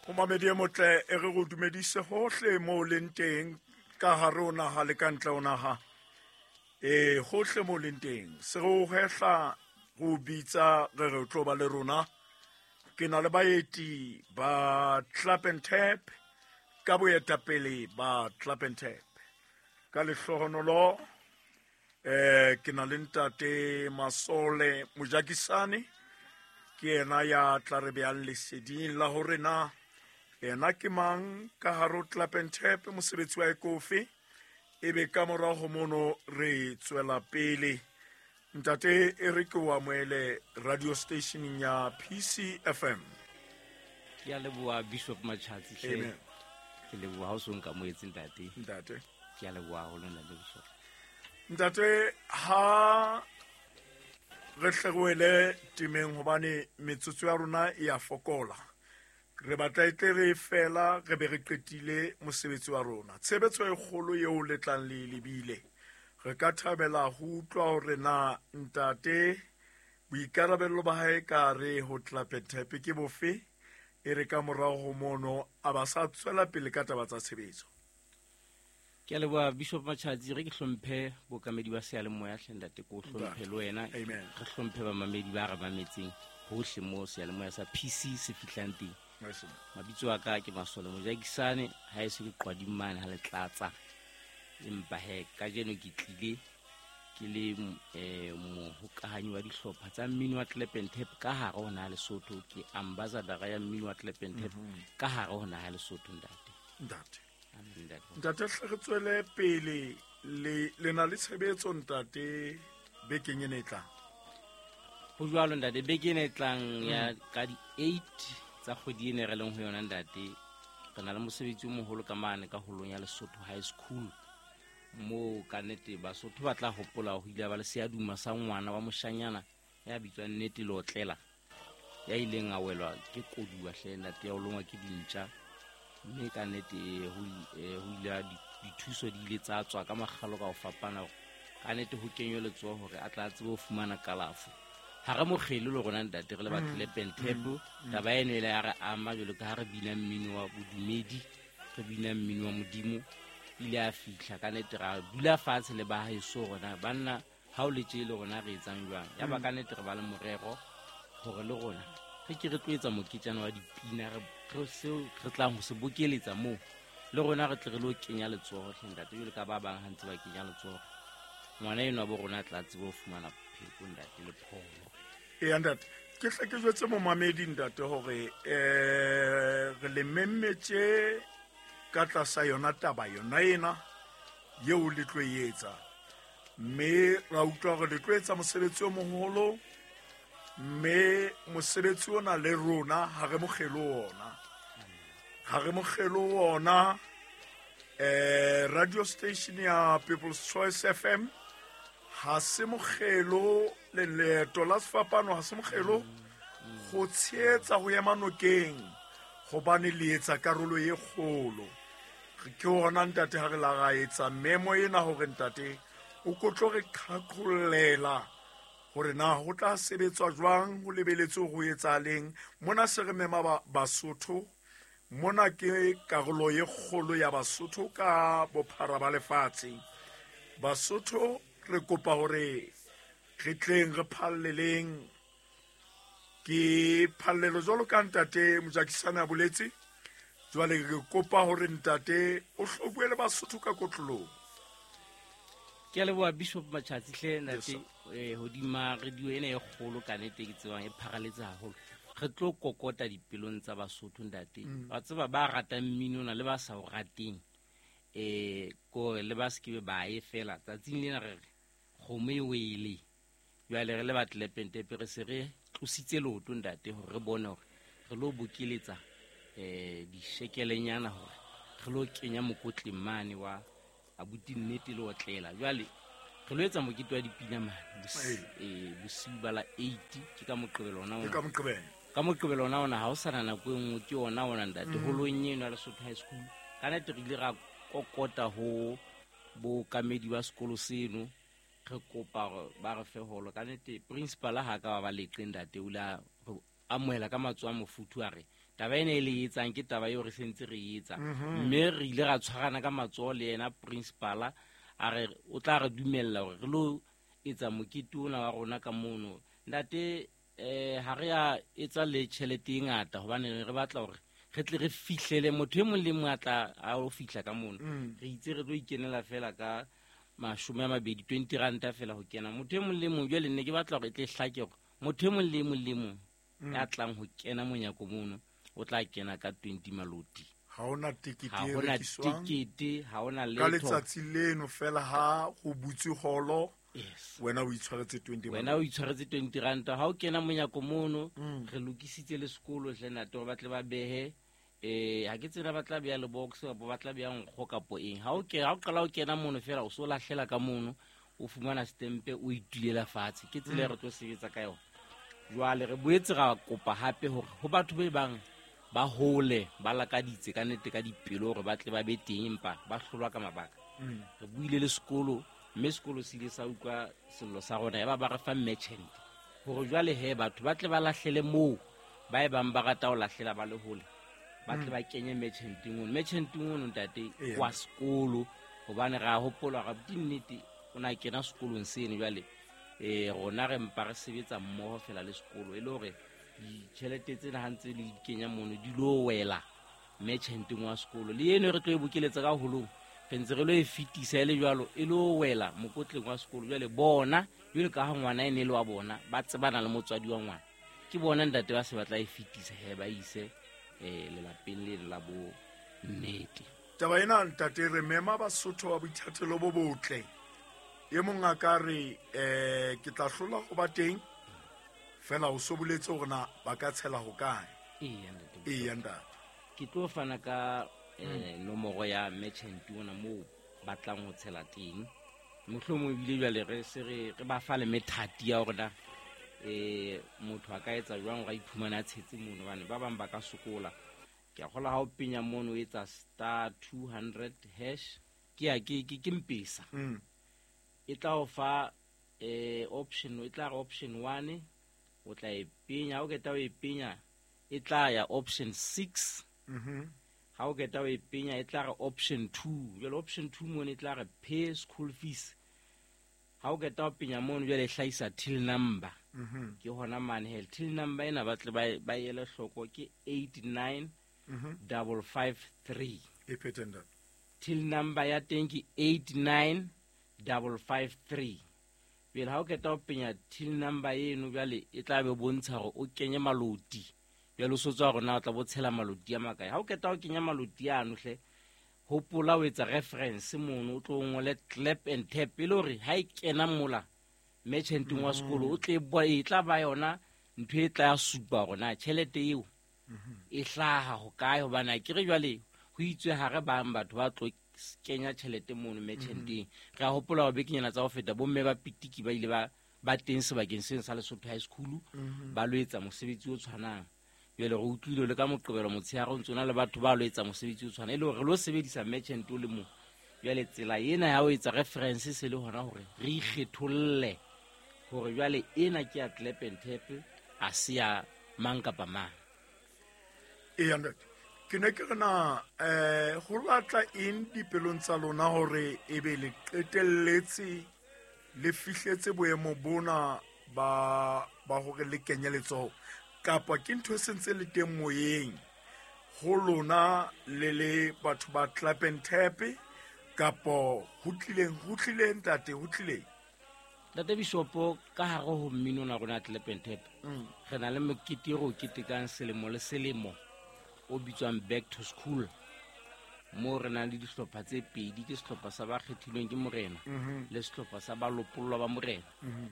Momamedi e motle, e re go dumedise hohle mo o leng teng ka hare ho naha le ka ntle ho naha. E hohle mo o leng teng, se re o hehla re o bitsa re re o tlo ba le rona. Ke na le baeti ba Clap and Tap ka boetapele ba Clap and Tap. Ka lehlohonolo ke na le ntate Masole Mojakisane, ke yena ya tla re beang leseding la hore na yena ke mang ka hare ho Clap and Tap, mosebetsi wa ekofe, ebe ka morago mono re tswela pele. Ntate, e re ke o amoele radio stationeng ya PCFM. Ke a leboha Bishop Machatsi hle. Amen. Ke leboha ha o so nkamoetse ntate. Ntate. Ke a leboha haholo ntate Bishop. Ntate, ha re hle re wele temeng hobane metsotso ya rona e a fokola. Re batla e tle re fela re be re qetile mosebetsi wa rona. Tshebetso e kgolo eo le tlang le lebile. Re ka thabela ho utlwa hore na ntate boikarabello ba hae ka re ho Clap and Tap ke bofe, e re ka morao ho mono a ba sa tswela pele ka taba tsa tshebetso. Ke a leboha Bishop Machatsi, re ke hlomphe bookamedi ba seyalemoya hle ntate, ko hlomphe le wena. Amen. Re hlomphe bamamedi ba re mametseng hohle mo seyalemoya sa PC se fihlang teng. Nice. Mabitso a ka ke Masole Mojakisane, ha e se ke qwading mane ha le tlatsa. Empa he kajeno ke tlile ke le mohokahanyi wa dihlopha tsa mmino wa Clap and Tap ka hare ho naha Lesotho, ke ambassador ya mmino wa Clap and Tap ka hare ho naha Lesotho ntate. Ntate. Amen, ntate. Ntate, hle re tswele pele le na le tshebetso ntate bekeng ena e tlang. Ho jwalo ntate, beke ena e tlang ya ka di 8 tsa kgwedi ena re leng ho yona ntate, re na le mosebetsi o moholo ka mane ka holong ya Lesotho High School, moo ka nnete Basotho ba tla hopola ho ile ba le seaduma sa ngwana wa moshanyana ya bitswang Nnete Leotlela, ya ileng a welwa ke koduwa hle ntate, ya o longwa ke dintja, mme ka nnete ho ile ha dithuso di ile tsa tswa ka makgalo ka ho fapana hore ka nnete ho kenywe letsoho hore a tla tsebe ho fumana kalafo. Ha re mokgele le rona ntate, re le batho le Pentep, taba eno e le ya re ama jwalo ka ha re bina mmino wa bodumedi, re bina mmino wa Modimo. Ile a fihla ka nnete ra dula fatshe le ba heso rona banna, ha o le tje le rona re etsang jwang? Ya ba ka nnete re ba le morero hore le rona re ke re tlo etsa moketjana wa dipina, re seo re tlang ho se bokeletsa moo, le rona re tle re lo kenya letsoho hle ntate, jwalo ka ba bang ha ntse ba kenya letsoho, ngwana enwa bo rona a tla tsebe ho fumana pheko ntate le pholo. Eya ntate, ke hle ke jwetse momamedi ntate hore re le memmetse ka tlasa yona taba yona ena eo le tlo e etsa, mme ra utlwa hore le tlo etsa mosebetsi o moholo, mme mosebetsi ona le rona ha re mokgelo ona, ha re mokgelo ona. Radio station ya People's Choice FM ha se mokgelo, le leeto la sefapano ha se mokgelo go tsheetsa go ema nokeng, gobane le etsa karolo e kgolo. Ke hona ntate ha re la ra etsa memo ena hore ntate o ko tlo re qhaqhollela hore na ho tla sebetswa jwang, ho lebeletswe ho etsahaleng mona. Se re mema Basotho mona, ke karolo e kgolo ya Basotho ka bophara ba lefatshe. Basotho re kopa hore re tleng re phalleleng, ke phallelo jwalo ka ntate Mojakisane a boletse. Jwale re kopa hore ntate o hlo bue le Basotho ka kotlolong. Ke a leboha Bishop Machatsi hle ntate, Yes, sir. hodima radio ena e kgolo ka nnete ke tsebang e pharaletse haholo. Re tlo kokota dipelong tsa Basotho ntate. Wa tseba ba ratang mmino ona le ba sa o rateng, kore le ba se ke be ba e fela. Tsatsing lena re re kgomo e wele. Jwale re le ba Clap and Tap re se re tlositse leoto ntate hore re bone hore re lo bokeletsa dishekelenyana hore re lo kenya mokotleng mane wa abuti Nnete le otlela. Jwale re lo etsa mokete wa dipina mane, bosiu ba la 8, ke ka Moqebelo ona Ke ona. ka Moqebelo. Ka Moqebelo ona ona, ha o sana nako e nngwe, ke ona ona ntate, holong eno ya Lesotho High School. Ka nnete re ile ra kokota ho bookamedi ba sekolo seno, re kopa hore ba re fe holo. Ka nnete principal ha ka ba ba leqe ntate, o ile a re amohela ka matsoho a mofuthu, a re Taba ena e le etsang ke taba eo re sentse re etsa. Mme re ile ra tshwarana ka matsoho le yena principala, a re o tla re dumella hore re lo etsa mokete ona wa rona ka mono. Ntate, ha re a etsa le tjhelete e ngata hobane re batla hore re tle re fihlele motho e mong le mong a tla a o fihla ka mono. Re itse re tlo ikenela fela ka 20, 20 ranta fela ho kena. Motho e mong le mong, jwale nne ke batla hore e tle hlake hore motho e mong le mong le mong ya tlang ho kena monyako mono o tla kena ka 20 maloti. Ha hona tekete Ha e hona rekiswang. tekete, ha hona Ka letho. letsatsi leno fela ha ho butswe holo, Yes. wena o itshwaretse 20 Wena o itshwaretse 20 ranta. Ha o kena monyako mono, re lokisitse le sekolo hle ntate hore ba tle ba behe, ha ke tsena ba tla beha le box kapa ba tla beha nkgo kapo eng. Ha o ha o qala o kena mono fela, o so lahlela ka mono, o fumana stempe, o itulela fatshe. Ke tsela e re tlo sebetsa ka yona. Jwale re boetse ra kopa hape hore ho batho ba bang ba hole, ba lakaditse ka nnete ka dipelo hore ba tle ba be teng, empa ba hlolwa ka mabaka. Re buile le sekolo, mme sekolo se ile sa utlwa sello sa rona, ya ba ba re fa merchant hore jwale he batho ba tle ba lahlele moo ba e bang ba rata ho lahlela ba le hole, ba tle ba kenye merchanteng ono. Merchanteng ono ntate wa sekolo, hobane re a hopola hore abuti nnete o na kena sekolong seno. Jwale rona re mpa re sebetsa mmoho fela le sekolo, e le hore ditjhelete tsena ha ntse le di kenya mono di lo wela merchanteng wa sekolo. Le eno re tlo e bokeletsa ka holong, re ntse re lo e fetisa e le jwalo, e lo wela mokotleng wa sekolo. Jwale bona, jwale ka ha ngwana e ne le wa bona, ba tsebana le motswadi wa ngwana, ke bona ntate ba se ba tla e fetisa he ba ise lelapeng le la bo nnete. Taba ena ntate, re mema Basotho ba boithatelo bo botle. E mong a ka re, ke tla hlola ho ba teng, fela o so boletse hore na ba ka tshela ho kae. Eya, ntate. Eya, ntate. Ke tlo fana ka nomoro ya merchant ona moo ba tlang ho tshela teng. Mohlomong ebile jwale re se re ba fa le methati ya hore na motho a ka etsa jwang hore a iphumane a tshetse mono, hobane ba bang ba ka sokola. Ke a kgolwa ha o penya mono o etsa star 200 hash, ke ya, ke, ke, ke Mpesa. E tla o fa option, e tla re option 1, o tla e penya. Ha o qeta ho e penya, e tla ya option 6. Ha o qeta ho e penya, e tla re option 2. Jwale option 2 mono e tla re pay school fees. Ha o qeta ho penya mono, jwale e hlahisa till number. Ke hona mane he, till number ena ba tle ba ele hloko ke eight nine double five three. E phethe ntate. Till number ya teng ke eight nine double five three. Pele ha o qeta ho penya till number eno, jwale e tla be bontsha hore o kenye maloti. Jwale o so tswa hore na o tla bo tshela maloti a makae. Ha o qeta ho kenya maloti ano hle, hopola o etsa reference mono, o tlo ngole clap and tap, e le hore ha e kena mola merchanteng wa sekolo, o tle e tla ba yona ntho e tla supa hore na tjhelete eo e hlaha ho kae. Hobane ha ke re jwale ho itswe ha re bang batho ba tlo kenya tjhelete mono merchanteng. Re a hopola hore bekenyana tsa ho feta bomme ba pitiki ba ile ba teng sebakeng seno sa Lesotho High School, ba lo etsa mosebetsi o tshwanang. Jwale re utlwile le ka Moqebelo motshehare o ntso na le batho ba lo etsa mosebetsi o tshwanang, e le hore re lo sebedisa merchant o le mong. Jwale tsela ena ya ho etsa reference se le hona hore re ikgetholle hore jwale ena ke ya clap and tap, ha se ya mang kapa mang. Eya, ntate. Ke ne ke re na, ho latla eng dipelong tsa lona hore ebe le qetelletse le fihletse boemo bona ba hore le kenye letsoho, kapa ke ntho e sentse le teng moyeng ho lona le le batho ba clap and tap, kapo ho tlileng, ho tlileng ntate, ho tlileng? Ntate Bishopo, ka hare ho mmino ona rona clap and tap, re na le mokete o re o ketekang selemo le selemo o bitswang Back to School, moo re nang le dihlopha tse pedi, ke sehlopha sa ba kgethilweng ke morena le sehlopha sa ba lopollwa ba morena.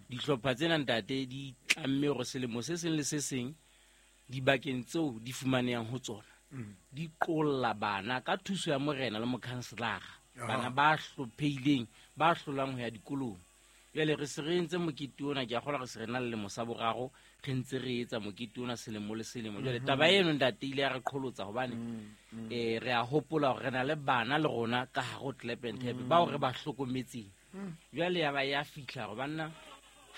Dihlopha tsena ntate di tlamme hore selemo se seng le se seng dibakeng tseo di fumanehang ho tsona, di qolla bana ka thuso ya morena le mokhanselara, bana ba hlopheileng, ba hlolang ho ya dikolong. Jwale re se re entse mokete ona, ke a kgolwa re se re na le lemo sa boraro re ntse re etsa mokete ona selemo le selemo. Jwale taba eno ntate ile ya re qholotsa hobane, re a hopola hore re na le bana le rona ka hare ho clap and tap, bao re ba hlokometseng. Jwale ya ba ya fihla hore banna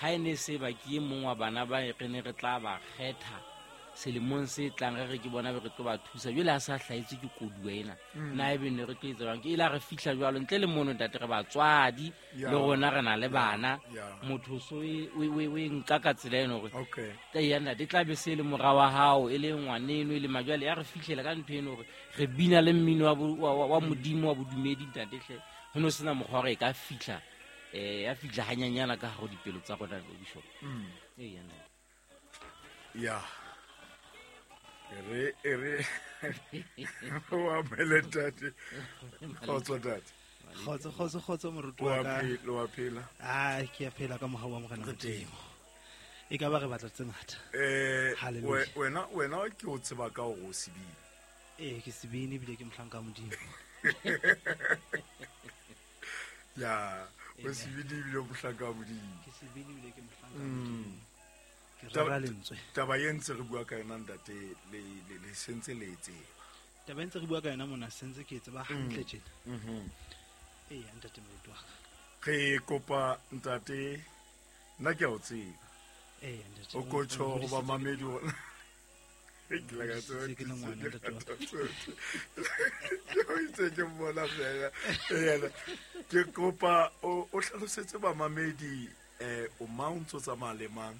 ha e ne se ba ke e mong wa bana ba re ne re tla ba kgetha Selemong se tlang re re ke bona be re tlo ba thusa jwale ha sa hlahetswe ke koduwa ena. Na ebe ne re tlo etsa jwang? Ke ile re fihla jwalo ntle le mono ntate, re batswadi le rona re na le bana. Motho so o e nka ka tsela eno hore eya ntate, e tla be se le mora wa hao, e le ngwaneno, e le majwale. Ya re fihlela ka ntho eno hore re bina le mmino wa modimo wa bodumedi ntate hle. Ho no sena mokgwa hore e ka fihla, ya fihla hanyanyana ka hare ho dipelo tsa rona, Bishop. Eya ntate. Ya. Ere o amele ntate. Kgotso ntate. Kgotso, kgotso, kgotso, moruti wa ka. Wa phela. Ah, ke a phela ka mohau wa Morena Re teng. Modimo. E ka ba re batla tse ngata. Hallelujah. Wena ke o tseba ka hore o sebini. Ee, ke sebini ebile ke mohlanka wa Modimo. Ya, o sebini ebile o mohlanka wa Modimo. Ke sebini ebile ke mohlanka wa Modimo. Ke rera lentswe. Taba e ntse re bua ka yona ntate, le sentse le e tseba. Taba e ntse re bua ka yona mona, sentse ke e tseba hantle tjena. Ee, ntate moruti wa ka. Re kopa ntate, nna ke a o tseba. Ee, ntate, O ko tjho ho ba mamedi hore ke la ka tseba Se ke le ngwana, ntate wa ka. Ke o itse ke mmona fela. Ee, ke kopa o hlalosetse bamamedi, o mang o ntso tsamaya le mang,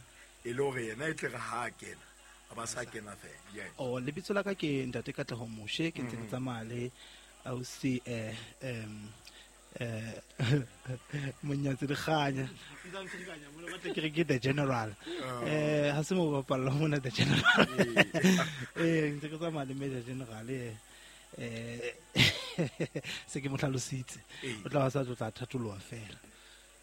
e le hore yena e tle re ha a kena, a ba sa kena fela. Yes. Oh, lebitso la ka ke ntate Katleho Moshe, ke ntse ke tsamaya le ausi, Monyatsi Lekganya. Ntse ke re ke the general. Ha se mo bapalla mona the general. Ntse ke tsamaya le Major General, se ke mo hlalositse. O tla ba sa tlo tla thatoloha fela.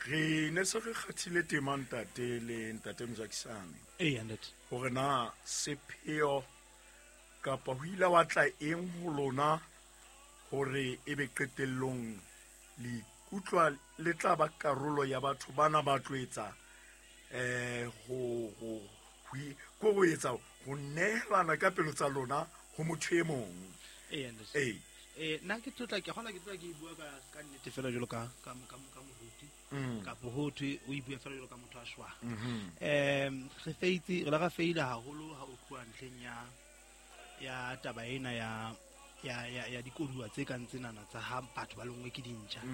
Re ne se re kgathile tema ntate le ntate Mojakisane. Ee, ntate. Hore na sepheo kapa ho ile wa tla eng ho lona hore ebe qetellong le ikutlwa le tla ba karolo ya batho bana ba tlo etsa, ho etsa ho nehelana ka pelo tsa lona ho motho e mong. Ee, ntate. Ee. Nna ke tlotla, ke kgona ke tlotla ke bua ka nnete fela jwalo ka moruti. Kapo ho thwe o e bua fela jwalo ka motho a shwang. Re feitse, re la ra feila haholo ha o tloha ntlheng ya taba ena ya dikoduwa tse kang tsenana tsa ha batho ba lengwe ke dintja.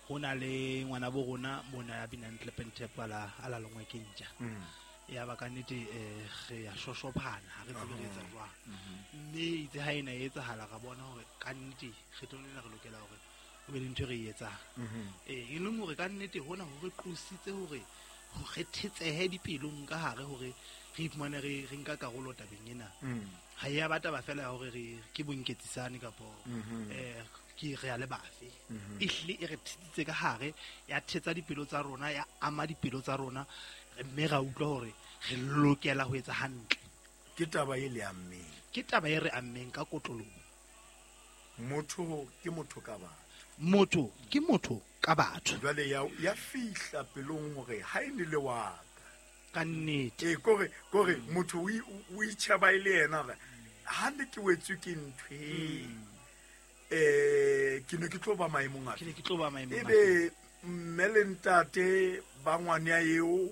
Ho na le ngwana bo rona mona ya binang clap and tap a la lengwe ke ntja. Ya ba ka nnete, re ya shoshophana, ha re tsebe re etsa jwang. Mme itse ha ena e etsahala, ra bona hore ka nnete kgetlong lena re lokela hore ho be le ntho e re e etsang. E leng hore ka nnete hona ho re qositse hore ho re thetsehe dipelong ka hare hore re iphumane re nka karolo tabeng ena. Ha e ya ba taba fela ya hore re ke bonketsisane kapo, ke re ya le bafe. Ehlile e re thetsitse ka hare, ya thetsa dipelo tsa rona, ya ama dipelo tsa rona, mme ra utlwa hore re lokela ho etsa hantle. Ke taba e le ammeng. Ke taba e re ammeng ka kotloloho. Motho ke motho ka batho. Motho ke motho ka batho. Jwale ya fihla pelong hore ha e ne le wa ka. Ka nnete. Ee, kore motho o itjheba e le yena hore ha ne ke wetswe ke ntho e, ke ne ke tlo ba maemong afe? Ke ne ke tlo ba maemong Ebe afe? mme le ntate ba ngwana eo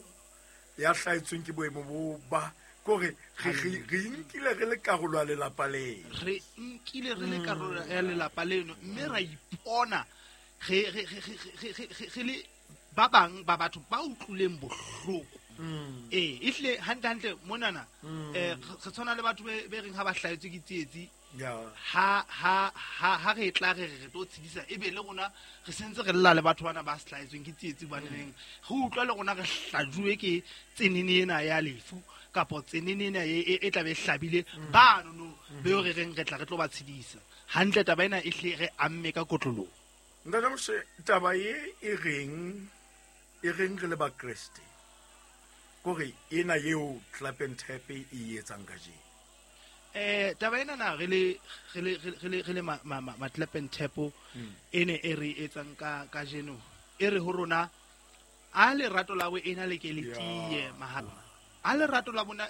ya hlahetsweng ke boemo bo ba, kore re nkile re le karolo ya lelapa leno. Re nkile re le karolo ya lelapa leno, mme ra ipona re le ba bang ba batho ba utlwileng bohloko. Ee, ehlile hantle hantle monana, re tshwana le batho be reng ha ba hlahetswe ke tsietsi. Ha re tla re re tlo tshedisa, ebe le rona re sentse re lla le batho bana ba hlahetsweng ke tsietsi, hobane neng re utlwa le rona re hlajuwe ke tsenene ena ya lefu kapo tsenene ena e tla be e hlabile bano no, beo re reng re tla re tlo ba tshedisa. Hantle taba ena e hle re amme ka kotloloho. Ntate Moshe, taba e e reng re le Bakreste? Kore ena eo Clap and Tap e etsang kajeno. Taba ena na re le ma Clap and Tap e ne e re etsang kajeno. E re ho rona, a lerato la boena le ke le tiye mahala. A lerato la bona